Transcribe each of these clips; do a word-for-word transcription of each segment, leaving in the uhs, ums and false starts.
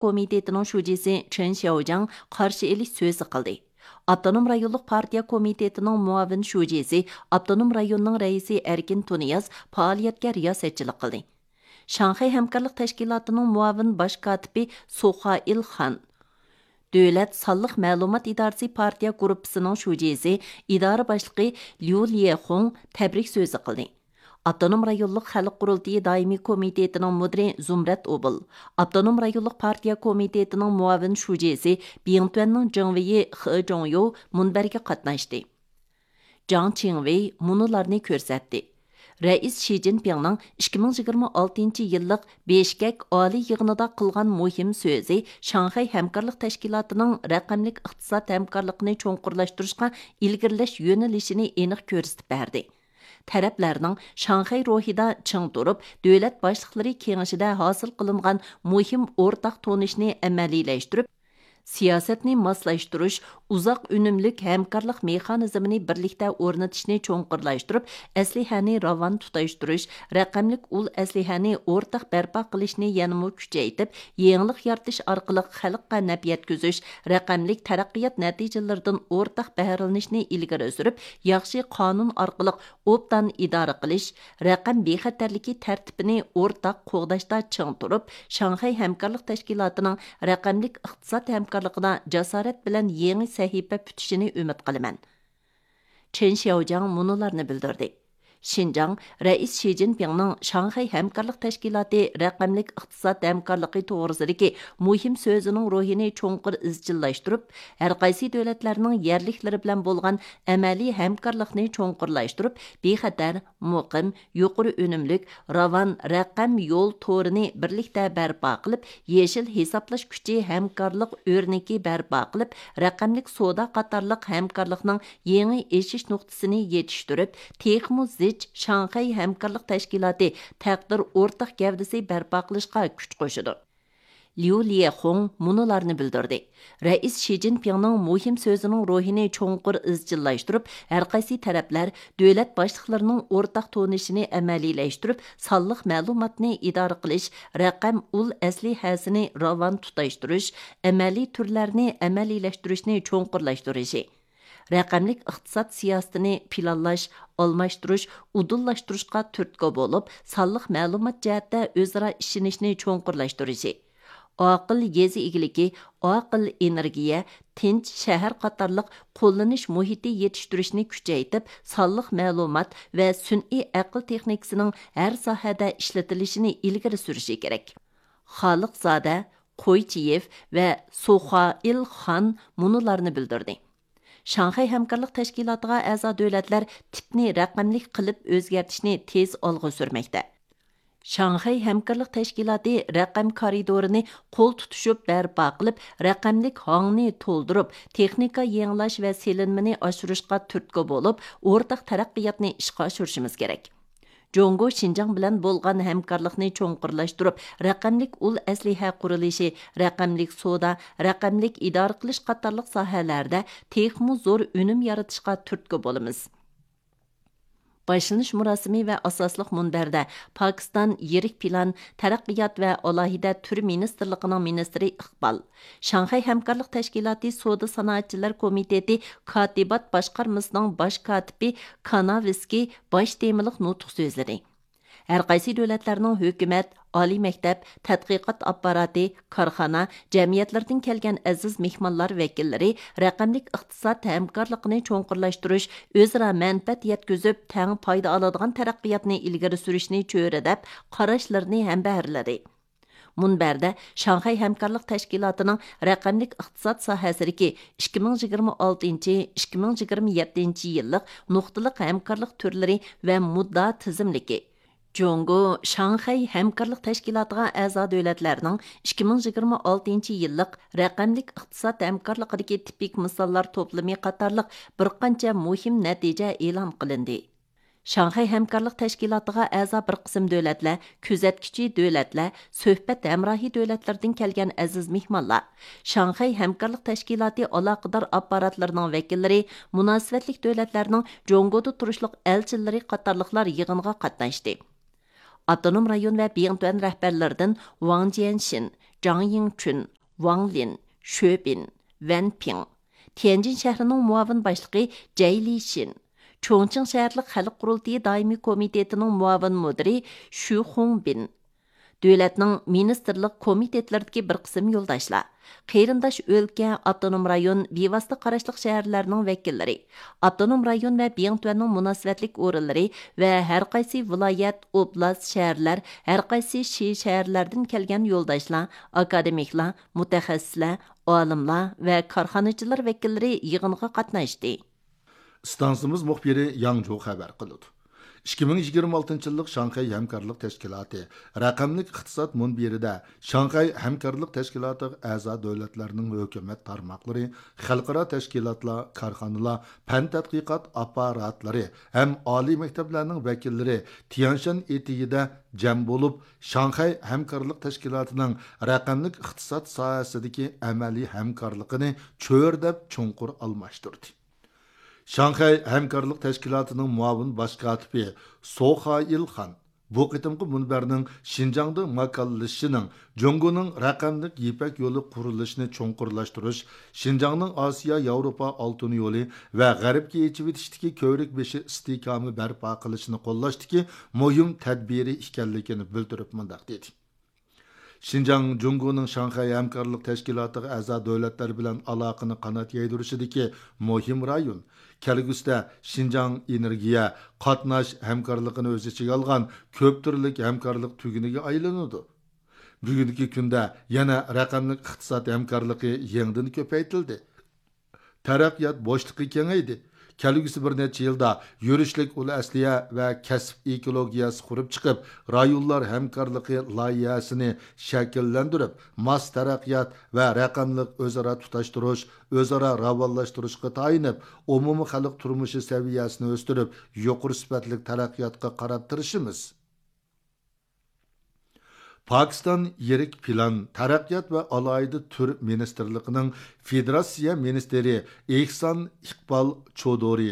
كومىتېتىنىڭ شۇجىسى چېن شياۋجياڭ قارشى ئېلىش سۆزى قىلدى. ئاپتونوم رايونلۇق پارتىيە كومىتېتىنىڭ مۇئاۋىن شۇجىسى، ئاپتونوم رايوننىڭ رەئىسى ئەركىن تۇنىياز پائالىيەتكە رىياسەتچىلىك قىلدى. شاڭخەي ھەمكارلىق تەشكىلاتىنىڭ مۇئاۋىن باش كاتىپى سۇخائىل خان، دۆلەت سانلىق مەلۇمات ئىدارىسى پارتىيە گۇرۇپپىسىنىڭ شۇجىسى، ئىدارە باشلىقى ليۇ ليەخۇڭ تەبرىك سۆزى قىلدى. ئاپتونوم رايونلۇق خەلق قۇرۇلتىيى دائىمىي كومىتېتىنىڭ مۇدىرى زۇمرەت ئوبۇل، ئاپتونوم رايونلۇق پارتىيە كومىتېتىنىڭ مۇئاۋىن شۇجىسى، بىڭتۈەننىڭ جېڭۋېيى خې جوڭيو مۇنبەرگە قاتناشتى. جاڭ چىڭۋېي مۇنۇلارنى كۆرسەتتى. رەئىس شى جىنپىڭنىڭ ئىككى مىڭ يىگىرمە ئالتىنچى يىللىق بېشكەك ئالىي يىغىنىدا قىلغان مۇھىم سۆزى شاڭخەي ھەمكارلىق تەشكىلاتىنىڭ رەقەملىك ئىقتىساد ھەمكارلىقىنى چوڭقۇرلاشتۇرۇشقا ئىلگىرىلەش يۆنىلىشىنى ئېنىق كۆرسىتىپ بەردى. تەرەپلەرنىڭ شاڭخەي روھىدا چىڭ تۇرۇپ، دۆلەت باشلىقلىرى كېڭىشىدە ھاسىل قىلىنغان مۇھىم ئورتاق تونۇشنى ئەمەلىيلەشتۈرۈپ، سىياسەتنى ماسلاشتۇرۇش، ئۇزاق ئۈنۈملۈك ھەمكارلىق مېخانىزمىنى بىرلىكتە ئورنىتىشنى چوڭقۇرلاشتۇرۇپ، ئەسلىھەنى راۋان تۇتاشتۇرۇش، رەقەملىك ئۇل ئەسلىھەنى ئورتاق بەرپا قىلىشنى يەنىمۇ كۈچەيتىپ، يېڭىلىق يارىتىش ئارقىلىق خەلققە نەپ يەتكۈزۈش، رەقەملىك تەرەققىيات نەتىجىلىرىدىن ئورتاق بەھرىلىنىشنى ئىلگىرى سۈرۈپ، ياخشى قانۇن ئارقىلىق ئوبدان ئىدارە قىلىش، رەقەم بىخەتەرلىكى تەرتىپىنى ئورتاق قوغداشتا چىڭ تۇرۇپ، شاڭخەي ھەمكارلىق تەشكىلاتىنىڭ رەقەملىك ئىقتىساد ھەمكارلىقىدا جاسارەت بىلەن يېڭى سەھىپە پۈتۈشىنى ئۈمىد قىلىمەن. چېن شياۋجياڭ مۇنۇلارنى بىلدۈردى. شىنجاڭ، رەئىس شى جىنپىڭنىڭ شاڭخەي ھەمكارلىق تەشكىلاتى رەقەملىك ئىقتىساد ھەمكارلىقى توغرىسىدىكى مۇھىم سۆزىنىڭ روھىنى چوڭقۇر ئىزچىللاشتۇرۇپ، ھەرقايسى دۆلەتلەرنىڭ يەرلىكلىرى بىلەن بولغان ئەمەلىي ھەمكارلىقنى چوڭقۇرلاشتۇرۇپ، بىخەتەر، مۇقىم، يۇقىرى ئۈنۈملۈك، راۋان رەقەم يول تورىنى بىرلىكتە بەرپا قىلىپ، يېشىل ھېسابلاش كۈچى ھەمكارلىق ئۆرنىكى بەرپا قىلىپ، رەقەملىك سودا قاتارلىق ھەمكارلىقنىڭ يېڭى ئېشىش نۇقتىسىنى يېتىشتۈرۈپ، تېخىمۇ زىچ شاڭخەي ھەمكارلىق تەشكىلاتى تەقدىر ئورتاق گەۋدىسى بەرپا قىلىشقا كۈچ قوشىدۇ. ليۇ ليەخۇڭ مۇنۇلارنى بىلدۈردى. رەئىس شى جىنپىڭنىڭ مۇھىم سۆزىنىڭ روھىنى چوڭقۇر ئىزچىللاشتۇرۇپ، ھەرقايسى تەرەپلەر دۆلەت باشلىقلىرىنىڭ ئورتاق تونۇشىنى ئەمەلىيلەشتۈرۈپ، سانلىق مەلۇماتنى ئىدارە قىلىش، رەقەم ئۇل ئەسلىھەسىنى راۋان تۇتاشتۇرۇش، ئەمەلىي تۈرلەرنى ئەمەلىيلەشتۈرۈشنى چوڭقۇرلاشتۇرۇشى، رەقەملىك ئىقتىساد سىياسىتىنى پىلانلاش، ئالماشتۇرۇش، ئۇدۇللاشتۇرۇشقا تۈرتكە بولۇپ، سانلىق مەلۇمات جەھەتتە ئۆزئارا ئىشىنىشنى چوڭقۇرلاشتۇرۇشى، ئاقىل يېزا ئىگىلىكى، ئاقىل ئېنېرگىيە، تىنچ شەھەر قاتارلىق قوللىنىش مۇھىتى يېتىشتۈرۈشنى كۈچەيتىپ، سانلىق مەلۇمات ۋە سۈنئىي ئەقىل تېخنىكىسىنىڭ ھەر ساھەدە ئىشلىتىلىشىنى ئىلگىرى سۈرۈشى كېرەك. خالىقزادە قويچىيېف ۋە سۇخائىل خان مۇنۇلارنى بىلدۈردى. شاڭخەي ھەمكارلىق تەشكىلاتىغا ئەزا دۆلەتلەر تىپنى رەقەملىك قىلىپ ئۆزگەرتىشنى تېز ئالغا سۈرمەكتە. شاڭخەي ھەمكارلىق تەشكىلاتى رەقەم كارىدورىنى قول تۇتۇشۇپ بەرپا قىلىپ، رەقەملىك ھاڭنى تولدۇرۇپ، تېخنىكا يېڭىلاش ۋە سېلىنمىنى ئاشۇرۇشقا تۈرتكە بولۇپ، ئورتاق تەرەققىياتنى ئىشقا ئاشۇرۇشىمىز كېرەك. جۇڭگو شىنجاڭ بىلەن بولغان ھەمكارلىقنى چوڭقۇرلاشتۇرۇپ، رەقەملىك ئۇل ئەسلىھە قۇرۇلۇشى، رەقەملىك سودا، رەقەملىك ئىدارە قىلىش قاتارلىق ساھەلەردە تېخىمۇ زور ئۈنۈم يارىتىشقا تۈرتكە بولىمىز. باشلىنىش مۇراسىمى ۋە ئاساسلىق مۇنبەردە پاكىستان يىرىك پىلان، تەرەققىيات ۋە ئالاھىدە تۈر مىنىستىرلىقىنىڭ مىنىستىرى ئىقبال، شاڭخەي ھەمكارلىق تەشكىلاتى سودا سانائەتچىلەر كومىتېتى كاتىبات باشقارمىسىنىڭ باش كاتىپى كاناۋسكىي باش تېمىلىق نۇتۇق سۆزلىدى. ھەرقايسى دۆلەتلەرنىڭ ھۆكۈمەت، ئالىي مەكتەپ، تەتقىقات ئاپپاراتى، كارخانا، جەمئىيەتلىرىدىن كەلگەن ئەزىز مېھمانلار ۋەكىللىرى رەقەملىك ئىقتىساد ھەمكارلىقىنى چوڭقۇرلاشتۇرۇش، ئۆزئارا مەنپەئەت يەتكۈزۈپ، تەڭ پايدا ئالىدىغان تەرەققىياتنى ئىلگىرى سۈرۈشنى چۆرىدەپ، قاراشلىرىنى ھەمبەھىرلىدى. مۇنبەردە شاڭخەي ھەمكارلىق تەشكىلاتىنىڭ رەقەملىك ئىقتىساد ساھەسىدىكى ئىككى مىڭ يىگىرمە ئالتىنچى، ئىككى مىڭ يىگىرمە يەتتىنچى يىللىق نۇقتىلىق ھەمكارلىق تۈرلىرى ۋە مۇددىئا تىزىملىكى، جۇڭگو شاڭخەي ھەمكارلىق تەشكىلاتىغا ئەزا دۆلەتلەرنىڭ ئىككى مىڭ يىگىرمە ئالتىنچى يىللىق رەقەملىك ئىقتىساد ھەمكارلىقىدىكى تىپىك مىساللار توپلىمى قاتارلىق بىر قانچە مۇھىم نەتىجە ئېلان قىلىندى. شاڭخەي ھەمكارلىق تەشكىلاتىغا ئەزا بىر قىسىم دۆلەتلەر، كۆزەتكۈچى دۆلەتلەر، سۆھبەت ھەمراھى دۆلەتلىرىدىن كەلگەن ئەزىز مېھمانلار، شاڭخەي ھەمكارلىق تەشكىلاتى ئالاقىدار ئاپپاراتلىرىنىڭ ۋەكىللىرى، مۇناسىۋەتلىك دۆلەتلەرنىڭ جۇڭگودا تۇرۇشلۇق ئەلچىلىرى قاتارلىقلار يىغىنغا قاتناشتى. ئاپتونوم رايون ۋە بىڭتۈەن رەھبەرلىرىدىن ۋاڭ جيەنشىن، جاڭ يىڭچۈن، ۋاڭ لىن، شۆ بىن، ۋەن پىڭ، تيەنجىن شەھىرىنىڭ مۇئاۋىن باشلىقى جەي لىشىن، چۇڭچىڭ شەھەرلىك خەلق قۇرۇلتىيى دائىمىي كومىتېتىنىڭ مۇئاۋىن مۇدىرى شۈ خۇڭبىن، دۆلەتنىڭ مىنىستىرلىق كومىتېتلىرىدىكى بىر قىسىم يولداشلار، قېرىنداش ئۆلكە، ئاپتونوم رايون، بىۋاسىتە قاراشلىق شەھەرلەرنىڭ ۋەكىللىرى، ئاپتونوم رايون ۋە بىڭتۈەننىڭ مۇناسىۋەتلىك ئورۇنلىرى ۋە ھەر قايسى ۋىلايەت، ئوبلاست، شەھەرلەر، ھەر قايسى شى شەھەرلەردىن كەلگەن يولداشلار، ئاكادېمىكلار، مۇتەخەسسىسلەر، ئالىملار ۋە كارخانىچىلار ۋەكىللىرى يىغىنغا قاتناشتى. ئىستانسىمىز مۇخبىرى ياڭجۇ خەۋەر قىلىدۇ. ئىككى مىڭ يىگىرمە ئالتىنچى يىللىق شاڭخەي ھەمكارلىق تەشكىلاتى رەقەملىك ئىقتىساد مۇنبىرىدە شاڭخەي ھەمكارلىق تەشكىلاتىغا ئەزا دۆلەتلەرنىڭ ھۆكۈمەت تارماقلىرى، خەلقئارا تەشكىلاتلار، كارخانىلار، پەن تەتقىقات ئاپپاراتلىرى ھەم ئالىي مەكتەپلەرنىڭ ۋەكىللىرى تيەنشان ئېتىكىدە جەم بولۇپ، شاڭخەي ھەمكارلىق تەشكىلاتىنىڭ رەقەملىك ئىقتىساد ساھەسىدىكى ئەمەلىي ھەمكارلىقىنى چۆرىدەپ چوڭقۇر ئالماشتۇردى. شاڭخەي ھەمكارلىق تەشكىلاتىنىڭ مۇئاۋىن باش كاتىپى سو خائىل خان بۇ قېتىمقى مۇنبەرنىڭ شىنجاڭدا ماكانلىشىشىنىڭ جۇڭگونىڭ رەقەملىك يىپەك يولى قۇرۇلۇشىنى چوڭقۇرلاشتۇرۇش، شىنجاڭنىڭ ئاسىيا ياۋروپا ئالتۇن يولى ۋە غەربكە ئېچىۋېتىشتىكى كۆۋرۈك بېشى ئىستىھكامى بەرپا قىلىشنى قوللاشتىكى مۇھىم تەدبىرى ئىكەنلىكىنى بىلدۈرۈپ مۇنداق دېدى. شىنجاڭ جۇڭگونىڭ شاڭخەي ھەمكارلىق تەشكىلاتىغا ئەزا دۆلەتلەر بىلەن ئالاقىنى قانات يايدۇرۇشىدىكى مۇھىم رايون. كەلگۈسىدە شىنجاڭ ئېنېرگىيە، قاتناش ھەمكارلىقىنى ئۆز ئىچىگە ئالغان كۆپ تۈرلۈك ھەمكارلىق تۈگۈنىگە ئايلىنىدۇ. بۈگۈنكى كۈندە يەنە رەقەملىك ئىقتىساد ھەمكارلىقى يېڭىدىن كۆپەيتىلدى. تەرەققىيات بوشلۇقى كېڭەيدى. كەلگۈسى بىر نەچچە يىلدا يۈرۈشلۈك ئۇل ئەسلىھە ۋە كەسىپ ئېكولوگىيەسى قۇرۇپ چىقىپ، رايونلار ھەمكارلىقى لايىھەسىنى شەكىللەندۈرۈپ، ماس تەرەققىيات ۋە رەقەملىك ئۆزئارا تۇتاشتۇرۇش، ئۆزئارا راۋانلاشتۇرۇشقا تايىنىپ، ئومۇمىي خەلق تۇرمۇشى سەۋىيەسىنى ئۆستۈرۈپ، يۇقىرى سۈپەتلىك تەرەققىياتقا قاراپ تىرىشىمىز. پاكىستان يىرىك پىلان، تەرەققىيات ۋە ئالاھىدە تۈر مىنىستىرلىقىنىڭ فېدېراتسىيە مىنىستىرى ئېھسان ئىقبال چودۇرى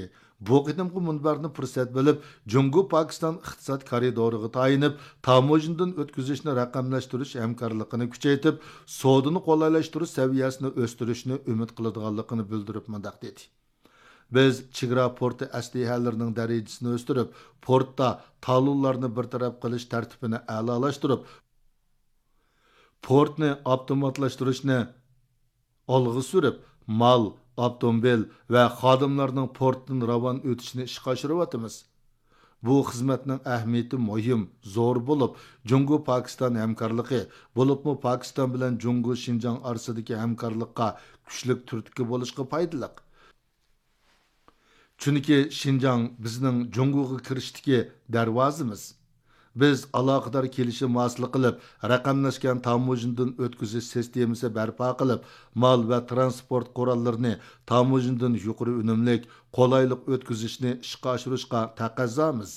بۇ قېتىمقى مۇنبەرنى پۇرسەت بىلىپ، جۇڭگو پاكىستان ئىقتىساد كارىدورىغا تايىنىپ، تاموژنىدىن ئۆتكۈزۈشنى رەقەملەشتۈرۈش ھەمكارلىقىنى كۈچەيتىپ، سودىنى قولايلاشتۇرۇش سەۋىيەسىنى ئۆستۈرۈشنى ئۈمىد قىلىدىغانلىقىنى بىلدۈرۈپ مۇنداق دېدى. بىز چېگرا پورتى ئەسلىھەلىرىنىڭ دەرىجىسىنى ئۆستۈرۈپ، پورتتا تالونلارنى بىر تەرەپ قىلىش تەرتىپىنى ئەلالاشتۇرۇپ، پورتنى ئاپتوماتلاشتۇرۇشنى ئالغا سۈرۈپ، مال، ئاپتوموبىل ۋە خادىملارنىڭ پورتتىن راۋان ئۆتۈشىنى ئىشقا ئاشۇرۇۋاتىمىز. بۇ خىزمەتنىڭ ئەھمىيىتى مۇھىم، زور بولۇپ، جۇڭگو پاكىستان ھەمكارلىقى، بولۇپمۇ پاكىستان بىلەن جۇڭگو شىنجاڭ ئارىسىدىكى ھەمكارلىققا كۈچلۈك تۈرتكە بولۇشقا پايدىلىق. چۈنكى شىنجاڭ بىزنىڭ جۇڭگوغا كىرىشتىكى دەرۋازىمىز. بىز ئالاقىدار كېلىشىم ھاسىل قىلىپ، رەقەملەشكەن تاموژنىدىن ئۆتكۈزۈش سىستېمىسى بەرپا قىلىپ، مال ۋە تىرانسپورت قوراللىرىنى تاموژنىدىن يۇقىرى ئۈنۈملۈك، قولايلىق ئۆتكۈزۈشنى ئىشقا ئاشۇرۇشقا تەقەززامىز.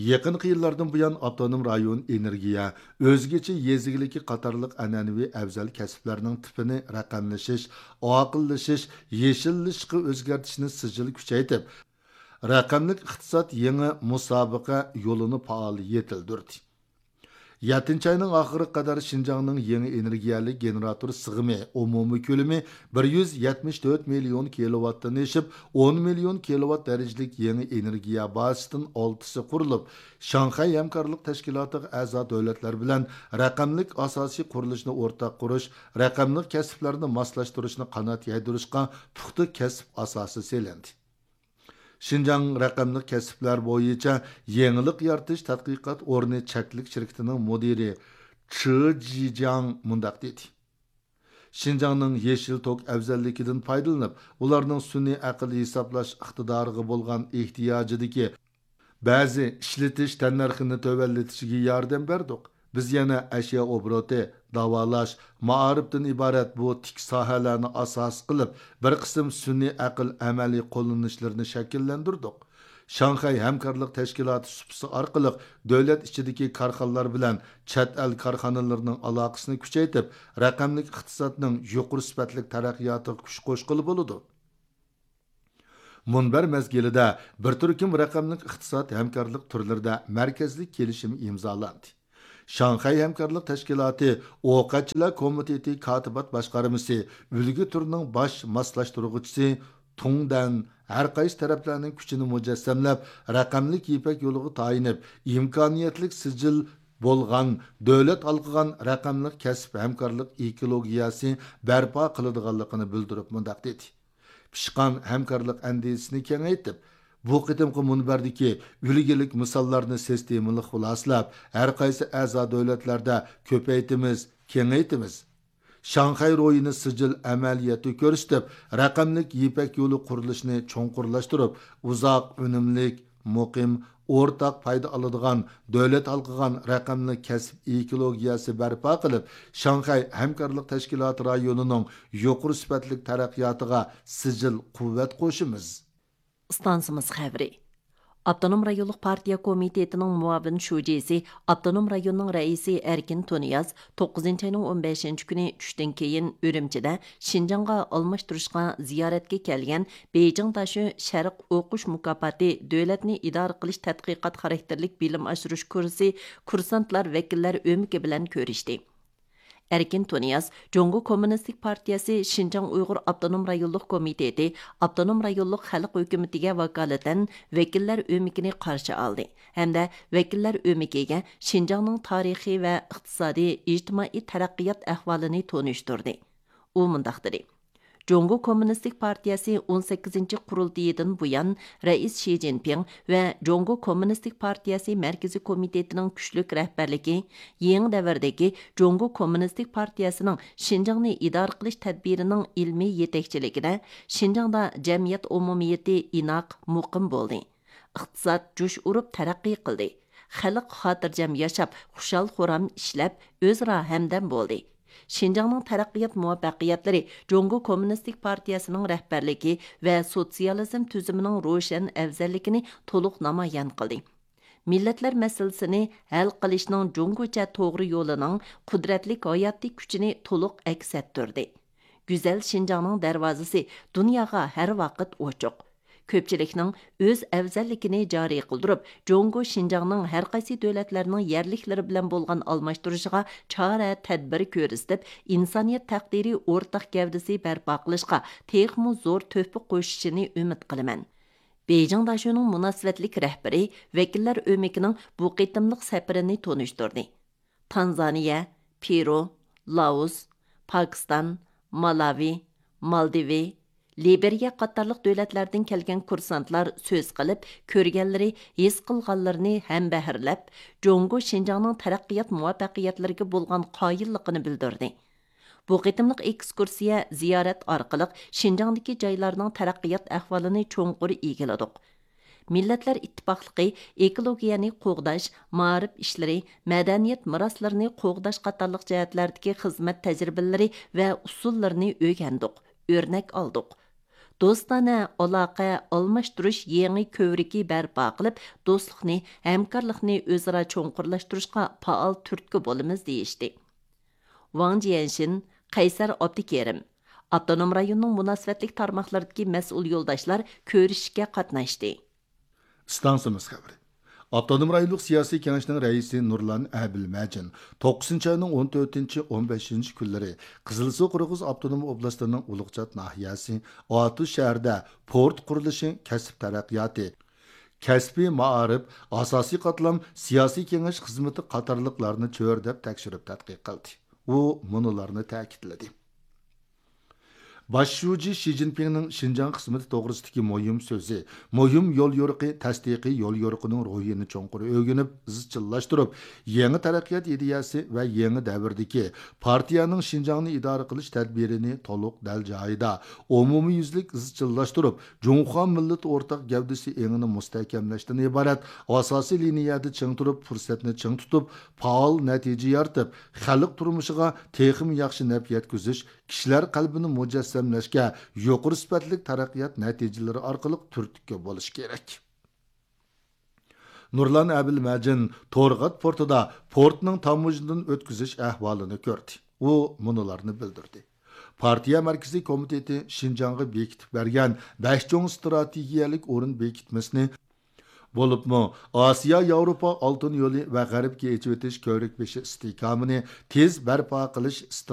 يېقىنقى يىللاردىن بۇيان، ئاپتونوم رايون ئېنېرگىيە، ئۆزگىچە يېزا ئىگىلىكى قاتارلىق ئەنئەنىۋى ئەۋزەل كەسىپلەرنىڭ تىپىنى رەقەملىشىش، ئاقىللىشىش، يېشىللىشىشقا ئۆزگەرتىشنى سىجىل كۈچەيتىپ، رەقەملىك ئىقتىساد يېڭى مۇسابىقە يولىنى پائال يېتىلدۈردى. يەتتىنچى ئاينىڭ ئاخىرىغا قەدەر شىنجاڭنىڭ يېڭى ئېنېرگىيەلىك گېنېراتور سىغىمى ئومۇمىي كۆلىمى بىر يۈز يەتمىش تۆت مىليون كىلوۋاتتىن ئېشىپ، ئون مىليون كىلوۋات دەرىجىلىك يېڭى ئېنېرگىيە بازىسىدىن ئالتىسى قۇرۇلۇپ، شاڭخەي ھەمكارلىق تەشكىلاتىغا ئەزا دۆلەتلەر بىلەن رەقەملىك ئاساسىي قۇرۇلۇشنى ئورتاق قۇرۇش، رەقەملىك كەسىپلەرنى ماسلاشتۇرۇشنى قانات يايدۇرۇشقا پۇختا كەسىپ ئاساسى سېلىندى. شىنجاڭ رەقەملىك كەسىپلەر بويىچە يېڭىلىق يارىتىش تەتقىقات ئورنى چەكلىك شىركىتىنىڭ مۇدىرى چې جىجياڭ مۇنداق دېدى: شىنجاڭنىڭ يېشىل توك ئەۋزەللىكىدىن پايدىلىنىپ، ئۇلارنىڭ سۈنئىي ئەقىل ھېسابلاش ئىقتىدارىغا بولغان ئېھتىياجىدىكى بەزى ئىشلىتىش تەننەرخىنى تۆۋەنلىتىشىگە ياردەم بەردۇق. بىز يەنە ئەشيا ئوبوروتى، داۋالاش، مائارىپتىن ئىبارەت بۇ تىك ساھەلەرنى ئاساس قىلىپ، بىر قىسىم سۈنئىي ئەقىل ئەمەلىي قوللىنىشلىرىنى شەكىللەندۈردۇق. شاڭخەي ھەمكارلىق تەشكىلاتى سۇپىسى ئارقىلىق دۆلەت ئىچىدىكى كارخانىلار بىلەن چەت ئەل كارخانىلىرىنىڭ ئالاقىسىنى كۈچەيتىپ، رەقەملىك ئىقتىسادنىڭ يۇقىرى سۈپەتلىك تەرەققىياتىغا كۈچ قوشقىلى بولىدۇ. مۇنبەر مەزگىلىدە بىر تۈركۈم رەقەملىك ئىقتىساد ھەمكارلىق تۈرلىرىدە مەركەزلىك كېلىشىم ئىمزالاندى. شاڭخەي ھەمكارلىق تەشكىلاتى ئوقەتچىلەر كومىتېتى كاتىبات باشقارمىسى ئۈلگە تۈرىنىڭ باش ماسلاشتۇرغۇچىسى تۇڭدەن ھەر قايسى تەرەپلەرنىڭ كۈچىنى مۇجەسسەملەپ، رەقەملىك يىپەك يولىغا تايىنىپ، ئىمكانىيەتلىك سىجىل بولغان، دۆلەت ھالقىغان رەقەملىك كەسىپ ھەمكارلىق ئېكولوگىيەسى بەرپا قىلىدىغانلىقىنى بىلدۈرۈپ مۇنداق دېدى: پىشقان ھەمكارلىق ئەندىزىسىنى كېڭەيتىپ، بۇ قېتىمقى مۇنبەردىكى ئۈلگىلىك مىساللارنى سىستېمىلىق خۇلاسىلەپ، ھەر قايسى ئەزا دۆلەتلەردە كۆپەيتىمىز، كېڭەيتىمىز. شاڭخەي روھىنى سىجىل ئەمەلىيەتتە كۆرسىتىپ، رەقەملىك يىپەك يولى قۇرۇلۇشىنى چوڭقۇرلاشتۇرۇپ، ئۇزاق ئۈنۈملۈك، مۇقىم، ئورتاق پايدا ئالىدىغان، دۆلەت ھالقىغان رەقەملىك كەسىپ ئېكولوگىيەسى بەرپا قىلىپ، شاڭخەي ھەمكارلىق تەشكىلاتى رايونىنىڭ يۇقىرى سۈپەتلىك تەرەققىياتىغا سىجىل قۇۋۋەت قوشىمىز. ئىستانسىمىز خەۋىرى. ئاپتونوم رايونلۇق پارتىيە كومىتېتىنىڭ مۇئاۋىن شۇجىسى، ئاپتونوم رايوننىڭ رەئىسى ئەركىن تۇنىياز توققۇزىنچى ئاينىڭ ئون بەشىنچى كۈنى چۈشتىن كېيىن ئۈرۈمچىدە شىنجاڭغا ئالماشتۇرۇشقا زىيارەتكە كەلگەن بېيجىڭ داشۆ شەرق ئوقۇش مۇكاپاتى دۆلەتنى ئىدارە قىلىش تەتقىقات خاراكتېرلىك بىلىم ئاشۇرۇش كۇرسى كۇرسانتلار ۋەكىللەر ئۆمىكى بىلەن كۆرۈشتى. ئەركىن تۇنىياز جۇڭگو كوممۇنىستىك پارتىيەسى شىنجاڭ ئۇيغۇر ئاپتونوم رايونلۇق كومىتېتى ئاپتونوم رايونلۇق خەلق ھۆكۈمىتىگە ۋاكالىتەن ۋەكىللەر ئۆمىكىنى قارشى ئالدى ھەمدە ۋەكىللەر ئۆمىكىگە شىنجاڭنىڭ تارىخىي ۋە ئىقتىسادىي، ئىجتىمائىي تەرەققىيات ئەھۋالىنى تونۇشتۇردى. ئۇ مۇنداق دېدى: جۇڭگو كوممۇنىستىك پارتىيەسى ئون سەككىزىنچى قۇرۇلتىيىدىن بۇيان، رەئىس شى جىنپىڭ ۋە جۇڭگو كوممۇنىستىك پارتىيەسى مەركىزىي كومىتېتىنىڭ كۈچلۈك رەھبەرلىكى، يېڭى دەۋردىكى جۇڭگو كوممۇنىستىك پارتىيەسىنىڭ شىنجاڭنى ئىدارە قىلىش تەدبىرىنىڭ ئىلمىي يېتەكچىلىكىدە، شىنجاڭدا جەمئىيەت ئومۇمىيىتى ئىناق، مۇقىم بولدى. ئىقتىساد جۇش ئۇرۇپ تەرەققىي قىلدى. خەلق خاتىرجەم ياشاپ، خۇشال-خۇرام ئىشلەپ، ئۆزئارا ھەمدەم بولدى. شىنجاڭنىڭ تەرەققىيات مۇۋەپپەقىيەتلىرى جۇڭگو كوممۇنىستىك پارتىيەسىنىڭ رەھبەرلىكى ۋە سوتسىيالىزم تۈزۈمىنىڭ روشەن ئەۋزەللىكىنى تولۇق نامايان قىلدى. مىللەتلەر مەسىلىسىنى ھەل قىلىشنىڭ جۇڭگوچە توغرا يولىنىڭ قۇدرەتلىك ھاياتىي كۈچىنى تولۇق ئەكس ئەتتۈردى. گۈزەل شىنجاڭنىڭ دەرۋازىسى دۇنياغا ھەر ۋاقىت ئوچۇق. كۆپچىلىكنىڭ ئۆز ئەۋزەللىكىنى جارى قىلدۇرۇپ، جۇڭگو شىنجاڭنىڭ ھەر قايسى دۆلەتلەرنىڭ يەرلىكلىرى بىلەن بولغان ئالماشتۇرۇشىغا چارە، تەدبىر كۆرسىتىپ، ئىنسانىيەت تەقدىرى ئورتاق گەۋدىسى بەرپا قىلىشقا تېخىمۇ زور تۆھپە قوشۇشىنى ئۈمىد قىلىمەن. بېيجىڭ داشۆنىڭ مۇناسىۋەتلىك رەھبىرى ۋەكىللەر ئۆمىكىنىڭ بۇ قېتىملىق سەپىرىنى تونۇشتۇردى. تانزانىيە، پېرۇ، لائوس، پاكىستان، مالاۋى، مالدىۋى، لىبېرىيە قاتارلىق دۆلەتلەردىن كەلگەن كۇرسانتلار سۆز قىلىپ، كۆرگەنلىرى، ھېس قىلغانلىرىنى ھەمبەھىرلەپ، جۇڭگو شىنجاڭنىڭ تەرەققىيات مۇۋەپپەقىيەتلىرىگە بولغان قايىللىقىنى بىلدۈردى. بۇ قېتىملىق ئېكسكۇرسىيە، زىيارەت ئارقىلىق شىنجاڭدىكى جايلارنىڭ تەرەققىيات ئەھۋالىنى چوڭقۇر ئىگىلىدۇق. مىللەتلەر ئىتتىپاقلىقى، ئېكولوگىيەنى قوغداش، مائارىپ ئىشلىرى، مەدەنىيەت مىراسلىرىنى قوغداش قاتارلىق جەھەتلەردىكى خىزمەت تەجرىبىلىرى ۋە ئۇسۇللىرىنى ئۆگەندۇق، ئۆرنەك ئالدۇق. دوستانە ئالاقە ئالماشتۇرۇش يېڭى كۆۋرۈكى بەرپا قىلىپ، دوستلۇقنى، ھەمكارلىقنى ئۆزئارا چوڭقۇرلاشتۇرۇشقا پائال تۈرتكە بولىمىز، دېيىشتى. ۋاڭ جيەنشىن، قەيسەر ئابدۇكېرىم، ئاپتونوم رايوننىڭ مۇناسىۋەتلىك تارماقلىرىدىكى مەسئۇل يولداشلار كۆرۈشۈشكە قاتناشتى. ئىستانسىمىز خەۋىرى. ئاپتونوم رايونلۇق سىياسىي كېڭەشنىڭ رەئىسى نۇرلان ئەبىلمەجىن توققۇزىنچى ئاينىڭ ئون تۆتىنچى، ئون بەشىنچى كۈنلىرى قىزىلسۇ قىرغىز ئاپتونوم ئوبلاستىنىڭ ئۇلۇغچات ناھىيەسى ئاتۇش شەھىرىدە پورت قۇرۇلۇشى، كەسىپ تەرەققىياتى، كەسپىي مائارىپ، ئاساسىي قاتلام سىياسىي كېڭەش خىزمىتى قاتارلىقلارنى چۆرىدەپ تەكشۈرۈپ تەتقىق قىلدى. ئۇ مۇنۇلارنى تەكىتلىدى. باش شۇجى شى جىنپىڭنىڭ شىنجاڭ خىزمىتى توغرىسىدىكى مۇھىم سۆزى، مۇھىم يوليورۇقى، تەستىقىي يوليورۇقىنىڭ روھىنى چوڭقۇر ئۆگىنىپ، ئىزچىللاشتۇرۇپ، يېڭى تەرەققىيات ئىدىيەسى ۋە يېڭى دەۋردىكى پارتىيەنىڭ شىنجاڭنى ئىدارە قىلىش تەدبىرىنى تولۇق دەل جايىدا، ئومۇميۈزلۈك ئىزچىللاشتۇرۇپ، جۇڭخۇا مىللىتى ئورتاق گەۋدىسى ئېڭىنى مۇستەھكەملەشتىن ئىبارەت ئاساسىي لىنىيەدە چىڭ تۇرۇپ، پۇرسەتنى چىڭ تۇتۇپ، پائال نەتىجە يارىتىپ، خەلق تۇرمۇشىغا تېخىمۇ ياخشى نەپ يەتكۈزۈش، كىشىلەر قەلبىنى مۇجەسسەملەشكە يۇقىرى سۈپەتلىك تەرەققىيات نەتىجىلىرى ئارقىلىق تۈرتكە بولۇش كېرەك. نۇرلان ئەبىلمەجىن تورغات پورتىدا پورتنىڭ تاموژنىدىن ئۆتكۈزۈش ئەھۋالىنى كۆردى. ئۇ مۇنۇلارنى بىلدۈردى. پارتىيە مەركىزىي كومىتېتى شىنجاڭغا بېكىتىپ بەرگەن بەش چوڭ ئىستراتېگىيەلىك ئورۇن بېكىتمىسىنى بولۇپمۇ ئاسىيا ياۋروپا ئالتۇن يولى ۋە غەربكە ئېچىۋېتىش كۆۋرۈك بېشى ئىستىھكامىنى تېز بەرپا قىلىش